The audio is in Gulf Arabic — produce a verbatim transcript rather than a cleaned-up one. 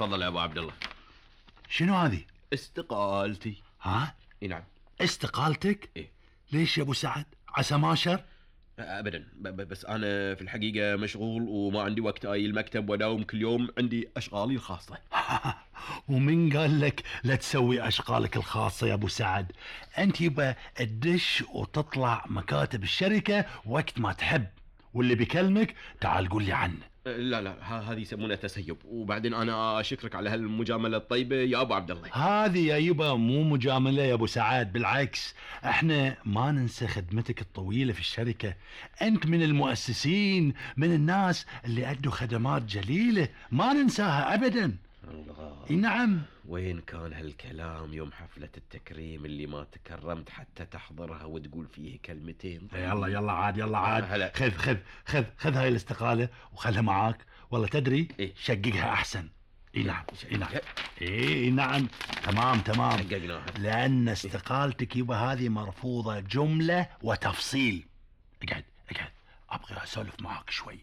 تفضل يا ابو عبد الله. شنو هذه؟ استقالتي. ها؟ اي نعم. استقالتك؟ إيه؟ ليش يا ابو سعد؟ عسى ما شر؟ ابدا، بس انا في الحقيقه مشغول وما عندي وقت اي المكتب واداوم كل يوم، عندي اشغالي الخاصه. ومن قال لك لا تسوي اشغالك الخاصه يا ابو سعد؟ انت يبقى تدش وتطلع مكاتب الشركه وقت ما تحب، واللي بيكلمك تعال قول لي عنه. لا لا، هذه يسمونها تسيب. وبعدين انا اشكرك على هالمجامله الطيبه يا ابو عبد الله. هذه يا يبا مو مجامله يا ابو سعد، بالعكس احنا ما ننسى خدمتك الطويله في الشركه. انت من المؤسسين، من الناس اللي ادوا خدمات جليله ما ننساها ابدا. الله. نعم. وين كان هالكلام يوم حفله التكريم اللي ما تكرمت حتى تحضرها وتقول فيه كلمتين؟ يلا يلا عاد يلا عاد. خذ خذ خذ خذ هاي الاستقاله وخلها معاك. والله تدري إيه؟ شققها احسن. اي نعم اي نعم اي نعم تمام تمام. شققناها لان استقالتك يبا هذه مرفوضه جمله وتفصيل. اقعد اقعد ابغى اسولف معاك شوي.